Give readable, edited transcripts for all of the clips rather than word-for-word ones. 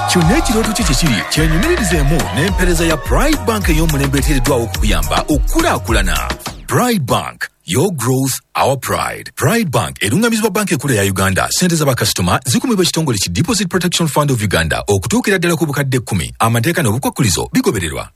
Kyonna ekirooto kye kyekiri kyenyumirizeemu n'empeereza ya Pride Bank ey'omulembe eteereddwawo okukuyamba okukulaakulana. Pride Bank, your growth, our pride. Pride Bank erungamizibwa banka enkulu eya Uganda. Ssente z'abakasitoma zikumibwa ekitongole ki Deposit Protection Fund of Uganda okutuukira ddala ku bukadde 10. Amateeka n'obukwakkulizo bigobererwa.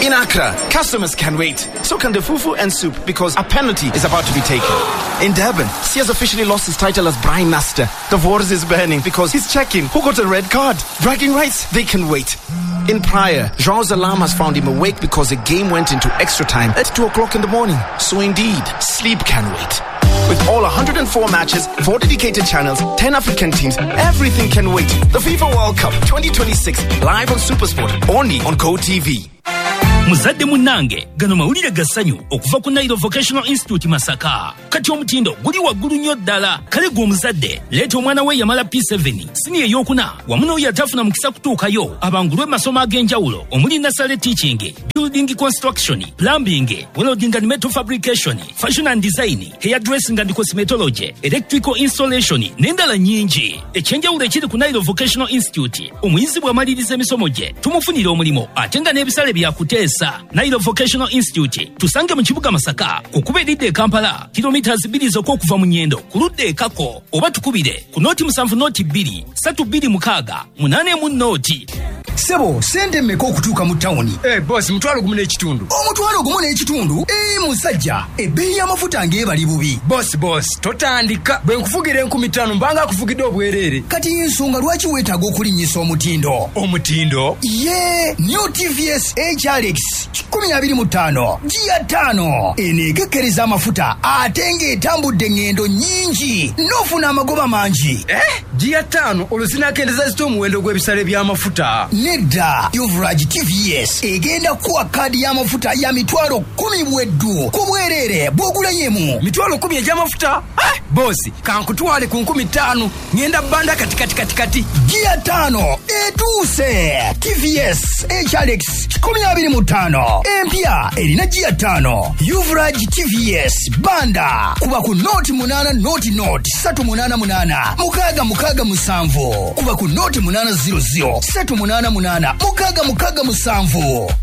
In Accra, customers can wait. So can the fufu and soup because a penalty is about to be taken. In Durban, Sia's officially lost his title as Brian Master. The Wars is burning because he's checking who got a red card. Bragging rights, they can wait. In Praia, João's alarm has found him awake because the game went into extra time at 2 o'clock in the morning. So indeed, sleep can wait. With all 104 matches, 4 dedicated channels, 10 African teams, everything can wait. The FIFA World Cup 2026, live on SuperSport, only on GoTV. Muzadde munnange, gano mawulire ga ssanyu okuva ku Nairo Vocational Institute Masaka. Kati omutindo guli waggulu nnyo ddala. Kale gwe omuzadde, leeta omwana we yamala P7, siniya ey'okuna, wamu n'oyo atafuna mukisa kutuukayo, abangulwe mu masomo ag'enjawulo omuli nursery teaching, building construction, plumbing, welding and metal fabrication, fashion and design, hair dressing and cosmetology, electrical installation n'endala nnyingi. Ekyenjawulo ekiri ku Nairo Vocational Institute, omuyizi bw'amaliriza emisomo gye tumufunira omulimu ate nga n'ebisale byakuteesa. Nairo Vocational Institute tusange mu kibuga Masaka, ku kkubo eridda e Kampala, kilomita 2 zokka okuva mu Nyendo ku ludda e Kako, oba tukubire ku 070 2 326 80. Sebo, sente mmeka okutuuka mu tawuni? Boss, 1,500. 1,500? Musajja, ebbeeyi y'amafuta ng'ebali bubi. Boss, totandika. Bwe nkuvugira 5,000 mbanga akuvugidde obwereere. Kati ensonga lwaki weetaaga okulinnyisa omutindo? Omutindo? Ye, New TVS HRX 125 giya 5 eno ekekkereza amafuta ate ng'etambudde engendo nnyingi n'ofuna amagoba mangi. Giya 5 olwo zinaakendeza zita omuwendo gw'ebisale by'amafuta? Nedda, Uvraj TVS egenda kuwa kaadi y'amafuta ya 10,000 bweddu ku bwereere bw'ogulayo. 10,000 egy'amafuta? Bosi, kankutwale ku 5,000 ngenda bbanda kati kati kati kati. Giya 5 etuuse. TVS HRX 125 empya erina giya 5. Uvraj TVS banda kuba ku 08 0 0 388 667 kuba ku 08 00 388 667.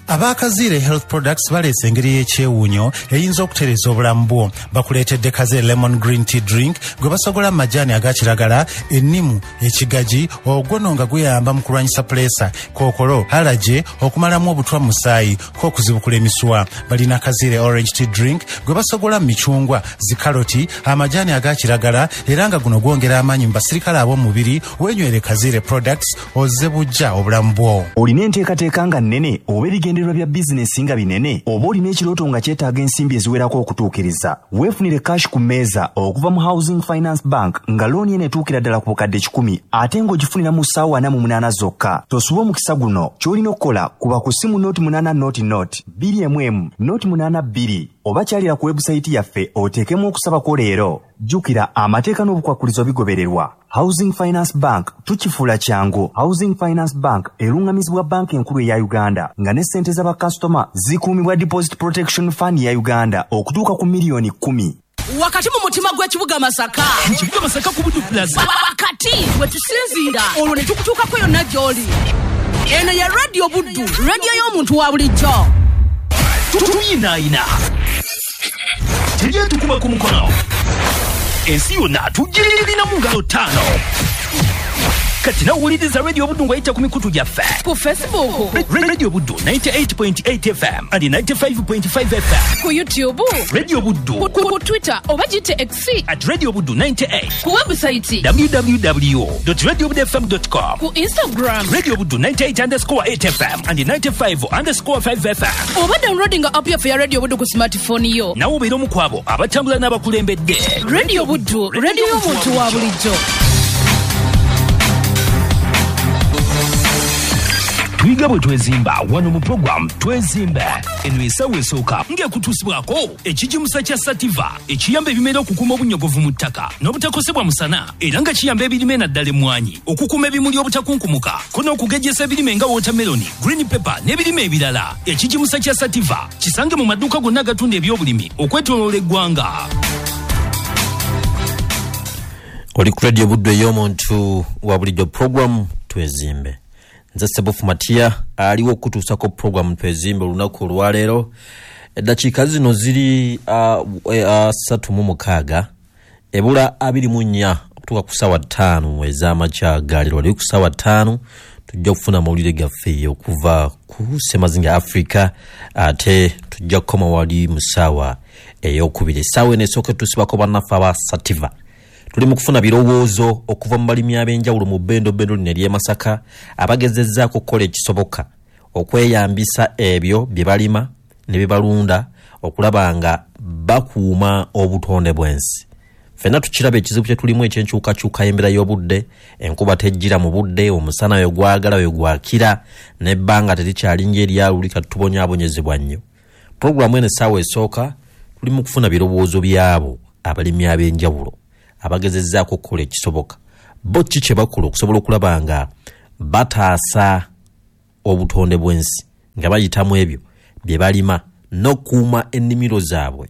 Abakaziire Health Products baleese engeri y'ekyewuunyo eyinza okutereeza obulamu bwo. Bakuleetedde Kaze Lemon Green Tea Drink gwe basogola mu majaani aga kiragala, ennimu, ekigaji, ogwono nga guyamba mu kulwanyisa puleesa, kookolo, alaje, okumalamu obutwa mu musaayi, k'okuzibukula emisuwa. Balina Kaziire Orange Tea Drink gwe basogola mu micungwa, zikaloti, amajaani aga kiragala, era nga guno gwongera amaanyi mu basirikale ab'omubiri. Weenywere Kaziire Products ozze bujja obulamu bwo. Olina enteekateeka nga nnene oba ebigendererwa bya bizinesi nga binene, oba olina ekirooto nga kyetaaga ensimbi eziwerako okutuukiriza, weefunire cash ku mmeeza okuva mu Housing Finance Bank nga looni eno etuukira ddala ku bukadde 100 ate ng'ogifunira mu ssaawa 48 zokka. Tosuba omukisa guno. Ky'olina okukola kuba ku ssimu 08 00 2 082 oba kyalira ku webusayiti yaffe oteekemu okusabako leero. Jjukira amateeka n'obukwakkulizo bigobererwa. Housing Finance Bank tukifuula kyangu. Housing Finance Bank erungamizibwa banka enkulu eya Uganda nga ne ssente z'abakasitoma zikuumibwa Deposit Protection Fund ya Uganda okutuuka ku 10 million. Wakati mu mutima gw'ekibuga Masaka. Mu kibuga Masaka ku Budu Plaza. Wakati we tusinziira olwo ne tukutuukako yonna gy'oli. Eno ye Radio Buddu, radio y'omuntu wa bulijjo. Tuyinaayina. Tejja tukuba ku mukono. Ensi yonna tugirina mu ngalo 5. Kati nawuliriza Radio Buddu ng'oyita ku mikutu gyaffe. Ku Facebook. Radio Buddu 98.8 FM and 95.5 FM. Ku YouTube. Radio Buddu. Ku Twitter oba gite X. At Radio Buddu 98. Ku website. www.radiobudufm.com. Ku Instagram. Radio Buddu 98_8 FM and 95_5 FM. Oba downloading app yaffe ya Radio Buddu ku smartphone yo. Nawe obeera omu ku abo abatambula n'abakulembedde. Radio Buddu, radio y'omuntu wa bulijjo. Tuyiga bwe twezimba wano mu program Twezimbe. Eno essaawa esooka ng'ekutuusibwako ekigimusa kya Sativa ekiyamba ebimera okukuuma obunyogovu mu ttaka n'obutakosebwa musana, era nga kiyamba ebirime naddala emmwanyi okukuuma ebimuli obutakunkumuka ko n'okugejjesa ebirime nga watermelon, green pepper n'ebirime ebirala. Ekigimusa kya Sativa kisange mu maduuka gonna agatunda ebyobulimi okwetooloola eggwanga. Oli ku Radio Buddu ey'omuntu wa bulijjo, program Twezimbe. Nze Sebufu Matiya aliwo okutuusako program Twezimbe olunaku olwaleero. Eddakiika zino ziri 36 ebula 24 okutuuka ku ssaawa 5 ez'amakya galeero. Wali ku ssaawa 5 tujja kufuna amawulire gaffe okuva ku Ssemazinga Africa, ate tujja kukoma wali mu ssaawa ey'okubiri. Essaawa eno esooka tusibako bannaffe aba Sativa. Tuli mu kufuna birowoozo okuva mu balimi ab'enjawulo mu bbendobendo lino ery'e Masaka abagezezzaako okukola ekisoboka okweyambisa ebyo bye balima ne bye balunda okulaba nga bakuuma obutonde bw'ensi. Ffenna tukiraba ekizibu kye tulimu eky'enkyukakyuka y'embeera y'obudde, enkuba tejjira mu budde, omusana we gwagala we gwakira, n'ebbanga terikyali ng'eryaluli, kati tubonyaabonyezebwa nnyo. Pulogulaamu eno essaawa esooka tuli mu kufuna birowoozo by'abo abalimi ab'enjawulo abagezezzaako okukola ekisoboka. Bo ki kye bakola okusobola okulaba nga bataasa obutonde bw'ensi nga bayitamu ebyo bye balima n'okukuuma ennimiro zaabwe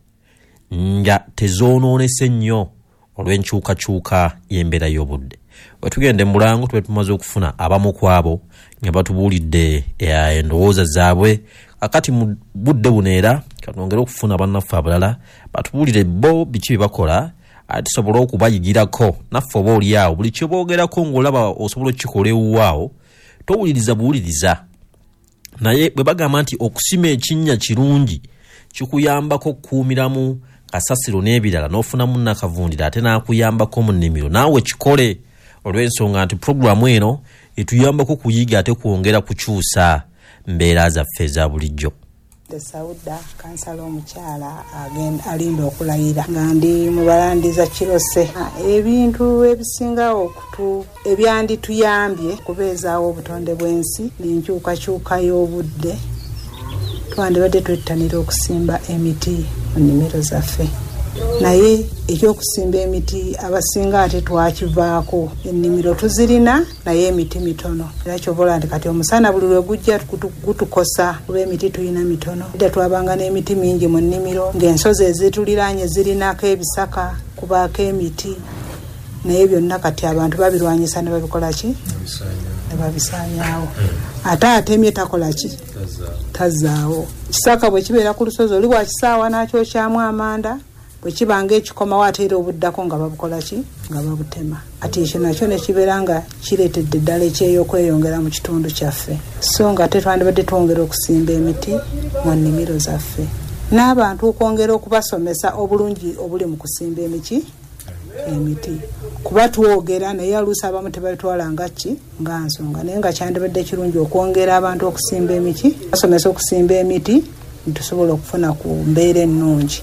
nga tezoonoonese nnyo olw'enkyukakyuka y'embeera y'obudde. Bwe tugenda e Mulango tube tumaze okufuna abamu ku abo nga batubuulidde endowooza zaabwe. Kakati mu budde buno era katwongere okufuna bannaffe abalala batubuulire bo biki bye bakola, ate tusobole okubayigirako naffe oba oli awo buli kye boogerako ng'olaba osobola okukikola ewuwaawo, towuliriza buwuliriza. Naye bwe bagamba nti okusima ekinnya kirungi kikuyambako okukuumiramu kasasiro n'ebirala n'ofunamu nnakavundira ate n'akuyambako mu nnimiro, naawe kikole olw'ensonga nti pulogulaamu eno etuyambako kuyiga ate kwongera kukyusa mbeera zaffe eza bulijjo. Nze Sauda, kansala omukyala alinda okulayira nga ndi mu balandiza Kirose. Ebintu ebisinga ebyandituyambye okubeezaawo obutonde bw'ensi n'enkyukakyuka y'obudde, twandibadde twettanira okusimba emiti mu nnimiro zaffe. Naye ekyokusimba emiti abasinga ate twakivaako. Ennimiro tuzirina naye emiti mitono. Era ky'ova olaba nti kati omusana buli lwe gujja gutukosa kuba emiti tulina mitono. Edda twabanga n'emiti mingi mu nnimiro ng'ensozi ezituliraanye zirinako ebisaka, kubaako emiti, naye byonna kati abantu babirwanyisa ne babikola ki? Ne babisaanyaawo. Ate atemye takola ki? Tazaawo. Kisaka bwe kibeera ku lusozi oli bw'akisaawa n'akyokyamu amanda, bwe kiba ng'ekikomawo ate era obuddako nga babukola ki? Nga babutema. Kati ekyo nakyo ne kibeera nga kireetedde ddala ekyeya okweyongera mu kitundu kyaffe. So nga ate twandibadde twongera okusimba emiti mu nnimiro zaffe. N'abantu okwongera okubasomesa obulungi obuli mu kusimba emiki emiti. Kuba twogera naye oluusi abamu tebabitwala nga ki? Nga nsonga. Naye nga kyandibadde kirungi okwongera abantu okusimba emiki, basomesa okusimba emiti tusobola okufuna ku mbeera ennungi.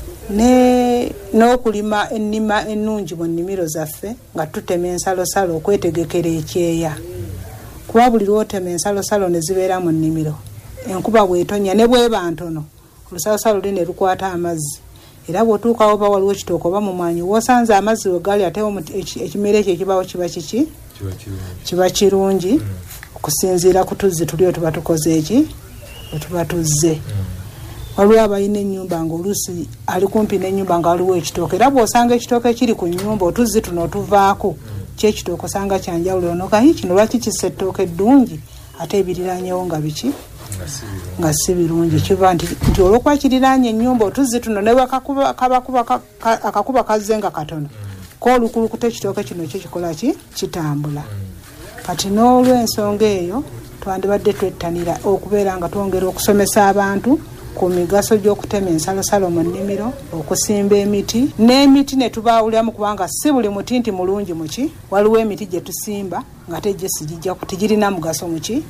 N'okulima ennima ennungi mu nnimiro zaffe nga tutema ensalosalo okwetegekera ekyeya. Kuba buli lw'otema ensalosalo ne zibeera mu nnimiro, enkuba bw'etonnya ne bw'eba ntono, olusalosalo luli ne lukwata amazzi. Era bw'otuukawo oba waliwo kitooke oba mu mwanyi, w'osanze amazzi we gali ate ekimera ekyo ekibaawo kiba kiki? Kiba kirungi okusinziira ku tuzzi tuli otuba tukoze eki? Otuba tuzze. Waliwo abalina ennyumba ng'oluusi ali kumpi n'ennyumba nga waliwo ekitooke, era bw'osanga ekitooke ekiri ku nnyumba otuzzi tuno otuvaako ky'ekitooke osanga kya njawulo, onoga kino lwaki kissa ettooke eddungi ate ebiriranyewo nga biki? Nga si birungi. Kiva nti olw'okuba kiriraanye ennyumba otuzzi tuno ne akakuba kazze nga katono, ko olukulukuta ekitooke kino kyo kikola ki? Kitambula. Kati n'olw'ensonga eyo twandibadde twettanira okubeera nga twongera okusomesa abantu ku migaso gy'okutema ensalosalo mu nnimiro, okusimba emiti, n'emiti ne tubaawuliramu kubanga si buli muti nti mulungi muki. Waliwo emiti gye tusimba nga ate gyo sigijja tegirina mugaso muki?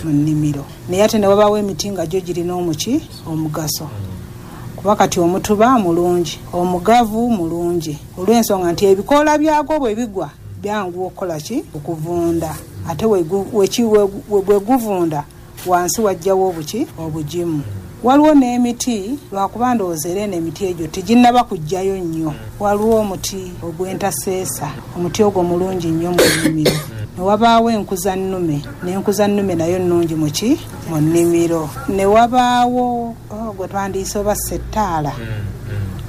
Mu nnimiro. Naye ate ne wabaawo emiti nga gyo girina omuki? Omugaso. Kuba kati omutuba mulungi, omugavu mulungi, olw'ensonga nti ebikoola byagwo bwe bigwa byanguwa okukola ki? Okuvunda. Ate bwe guvunda wansi wajjawo obuki? Obugimu. Waliwo n'emiti, lwakuba ndowooza era eno emiti egyo teginnaba kujjayo nnyo. Waliwo omuti ogw'entaseesa, omuti ogwo mulungi nnyo mu nnimiro. Ne wabaawo enkuzannume, n'enkuzannume nayo nnungi mu ki? Mu nnimiro. Ne wabaawo gwe twandiyise oba settaala.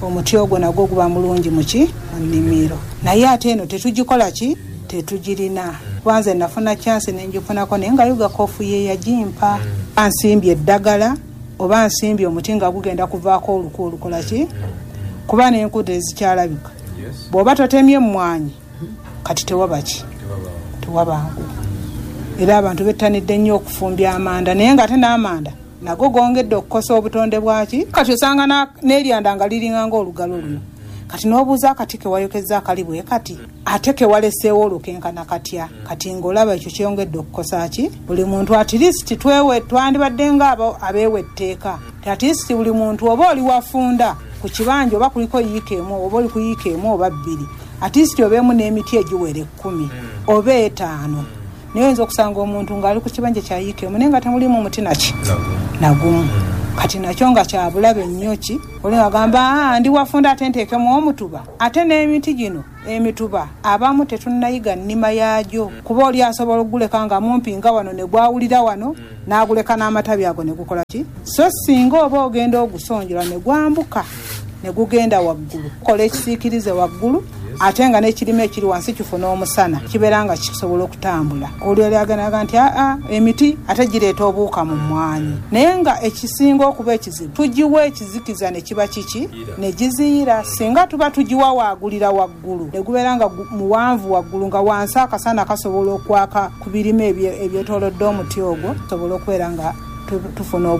Omuti ogwo nagwo guba mulungi muki mu nnimiro, naye ate eno tetugikola ki, tetugirina. Kuba nze nafuna chance nengifunako, naye nga UGACOF ye yagimpa. Nsimbye eddagala oba nsimbye omuti nga gugenda kuvaako oluku olukola ki, kuba n'enku tezikyalabika. Bw'oba totemye emmwanyi kati tewaba ki, tewabangu. Era abantu bettanidde nnyo okufumbya amanda, naye nga ate n'amanda nago gongedde okukosa obutonde bwaki. Kati osanga n'eryanda nga liringa ng'olugalo luno, kati n'obuuza akati kewayokezza akali bwe kati, ate kewaleseewo olukenkana katya? Kati ng'olaba ekyo kyongedde okukosa ki buli muntu. At least twewe twandibadde nga abeewa etteeka ti at least buli muntu oba oli wafunda ku kibanja oba kuliko yiika emu oba oli ku yiika emu oba bbiri, at least obeemu n'emiti egiwera 10 oba 5. Naye oyinza okusanga omuntu ng'ali ku kibanja kya yiika emu naye nga temulimu muti naki nagumu. Kati nakyo nga kyabulabe nnyo ki oli agamba ndi wafunda ate nteekemu omutuba. Ate n'emiti gino emituba abamu tetunnayiga nnima yaagyo, kuba oli asobola okuguleka nga mumpi nga wano ne gwawulira wano n'aguleka n'amatabi ago ne gukola ki. So singa oba ogenda ogusonjola ne gwambuka ne gugenda waggulu, kukola ekisiikirize waggulu, ate nga n'ekirime ekiri wansi kifuna omusana, kibeera nga kisobola okutambula. Oli aganaga nti aa emiti ate gireeta obuwuka mu mmwanyi, naye nga ekisinga okuba ekizibu tugiwa ekizikiza ne kiba kiki ne giziyira. Singa tuba tugiwa waagulira waggulu ne gubeera nga muwanvu waggulu nga wansi akasana kasobola okwaka ku birime ebyetoolodde omuti ogwo, tusobola okubeera nga tufuna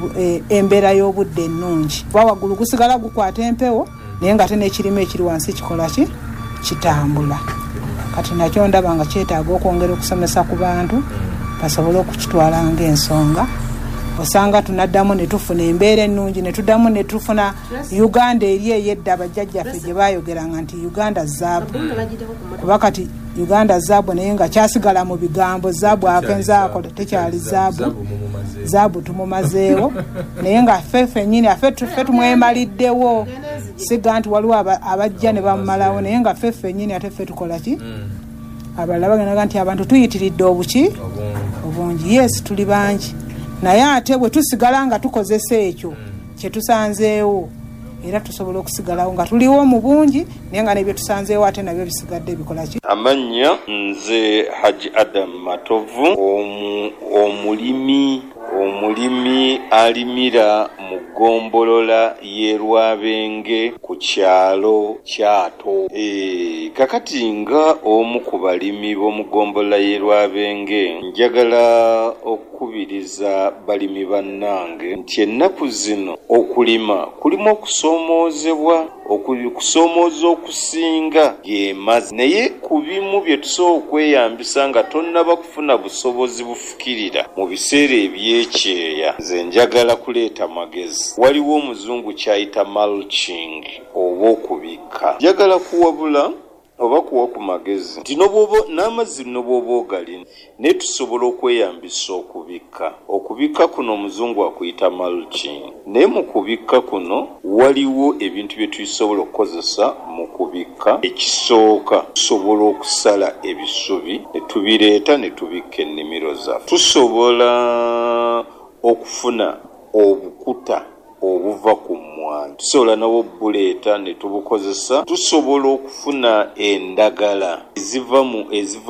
embeera y'obudde ennungi, kuba waggulu gusigala gukwata empewo naye nga ate n'ekirime ekiri wansi kikola ki, kitambula. Kati nakyo ndaba nga kyetaaga okwongera okusomesa ku bantu basobole okukitwala ng'ensonga. Osanga tunaddamu ne tufuna embeera ennungi, ne tuddamu ne tufuna Uganda eri ey'edda bajjajjaffe gye baayogeranga nti Uganda zaabu, kuba kati Uganda zaabu naye nga kyasigala mu bigambo, zaabu akenzaako tekyali zaabu, zaabu tumumazeewo, naye nga ffe ffennyini ffe tumwemaliddewo. Siga nti waliwo abajja ne bamumalawo, naye nga ffe ffennyini ate ffe tukola ki. Abalala bagendaga nti abantu tuyitiridde obuki obungi. Yes, tuli bangi, naye ate bwe tusigala nga tukozesa ekyo kye tusanzeewo, era tusobola okusigalawo nga tuliwo mu bungi, naye nga n'ebyo tusanzeewo ate nabyo bisigadde bikola ki. Amannya nze Haji Adam Matovu, omulimi alimira mu ggombolola y'e Lwabenge ku kyalo Kyato. Kakati nga omu ku balimi b'omu ggombolola y'e Lwabenge, njagala okukubiriza balimi bannange nti ennaku zino okulima kulimu okusoomoozebwa, okusoomooza okusinga ge mazzi. Naye ku bimu bye tusobola okweyambisa nga tonnaba kufuna busobozi bufukirira mu biseera eby'ekyeya, nze njagala kuleeta magezi. Waliwo omuzungu ky'ayita mulching oba okubikka. Njagala kuwabula oba kuwa ku magezi nti n'amazzi n'obwoba ogalina, naye tusobola okweyambisa okubikka. Okubikka kuno omuzungu akuyita mulching, naye mu kubikka kuno waliwo ebintu bye tusobola okukozesa mu kubikka. Ekisooka, tusobola okusala ebisubi ne tubireeta ne tubikka ennimiro zaffe. Tusobola okufuna obukuta obuva ku mmwanyi, tusobola nabwo obuleeta ne tubukozesa. Tusobola okufuna endagala eziva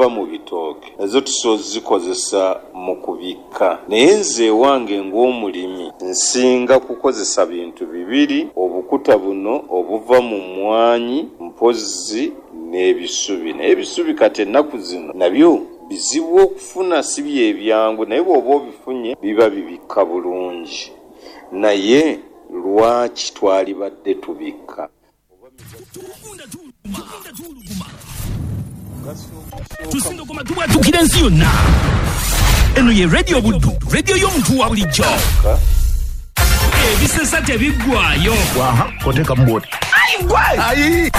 mu bitooke, nazo tusobola ozikozesa mu kubikka. Naye nze ewange ng'omulimi nsinga kukozesa bintu bibiri, obukuta buno obuva mu mmwanyi mpozzi n'ebisubi. Naye ebisubi kati ennaku zino nabyo bizibu okufuna, si bye byangu, naye bw'oba obifunye biba bibikka bulungi. Naye lwaki twalibadde tubikka? Tusindogoma tubwatukira ensi yonna. Eno ye Radio Buddu, radio y'omuntu wa bulijjo. Ebisesa tebiggwayo. Oteekamu bw'oti. Ayi!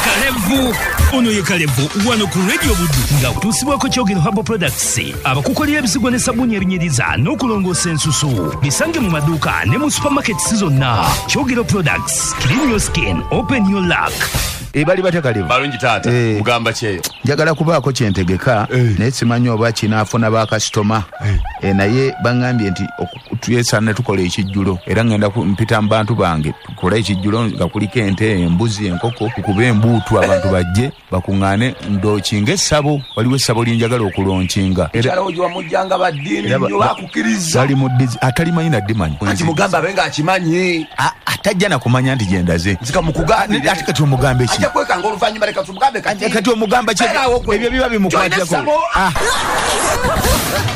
Kalevu. Ono ye Kalevu wano ku Radio Buddu nga kutuusibwako Kyogero Herbal Products, abakukolera ebizigo ne sabbuuni ebinyiriza n'okulongoosa ensusu. Bisange mu maduuka ne mu supermarkets zonna. Kyogero Products, clean your skin, open your luck. Bali batya Kalevu? Balungi taata, mugamba kyeyo. Njagala kubaako kyentegeka, naye simanyi oba kinaafuna bakasitoma. Naye baŋŋambye nti twesaana tukola ekijjulo, era ŋŋenda mpita mu bantu bange Tukole ekijjulo nga kuliko ente, embuzi, enkoko, tukube embuutu, abantu bajje bakuŋŋaane, ndookinga essabo. Waliwo essabo lyenjagala okulonkinga. Mukyalawo gye wamujjanga baddiini nnyo, bakukiriza. Bali mu ddizi, atalimanyi naddimanyi. Kati mugambe abe ng'akimanyi. Atajja na kumanya nti gye ndaze. Nzika mukugambire. Ate kati omugambe ki? Ajja kwekanga oluvannyuma, leka tumugambe kati. Kati omugamba ki? Beerawo gwe. Ebyo biba bimukwatirako. Join essabo.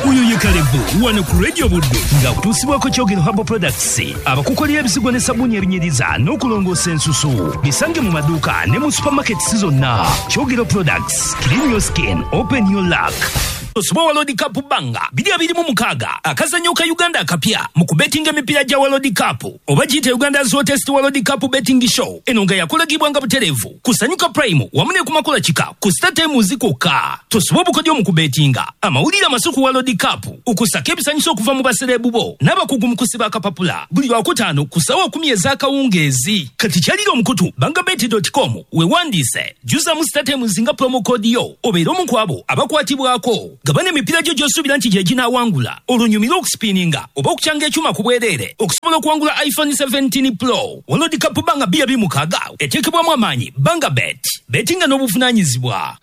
Oyo ye Kalevu wano ku Radio Buddu nga kutuusibwako Kyogero Herbal Products, abakukolera ebizigo ne sabbuuni ebinyiriza n'okulongoosa ensusu. Bisange mu maduuka ne mu supermarkets zonna. Kyogero Products, clean your skin, open your luck. Osubwa World Cup banga 2026, akazannyo ka Uganda akapya mu kubetinga emipiira gya World Cup oba giyite Uganda's Hottest World Cup Betting Show. Eno nga yakolagibwanga butereevu ku Sanyuka Prime wamu ne ku Makula Kika ku Star Times kwokka. Tosubwa obukodyo mu kubetinga, amawulire amasu ku World Cup, okusaka ebisanyusa okuva mu basereebu bo n'abakugu mu kusiba akapapula, buli Lwakutaano ku ssaawa 10 ez'akawungeezi. Kati kyalira omukutu bangabet.com weewandiise, jjuzamu Star Times nga promo code yo, obeere omu ku abo abakwatibwako. Gabana emipiira gyo gy'osuubira nti gye ginaawangula, olwo nyumire okusipiininga oba okukyanga ekyuma ku bwereere okusobola okuwangula iPhone 17 Pro. World Cup banga 2026 eteekebwamu amaanyi Banga Bet, betinga n'obuvunaanyizibwa.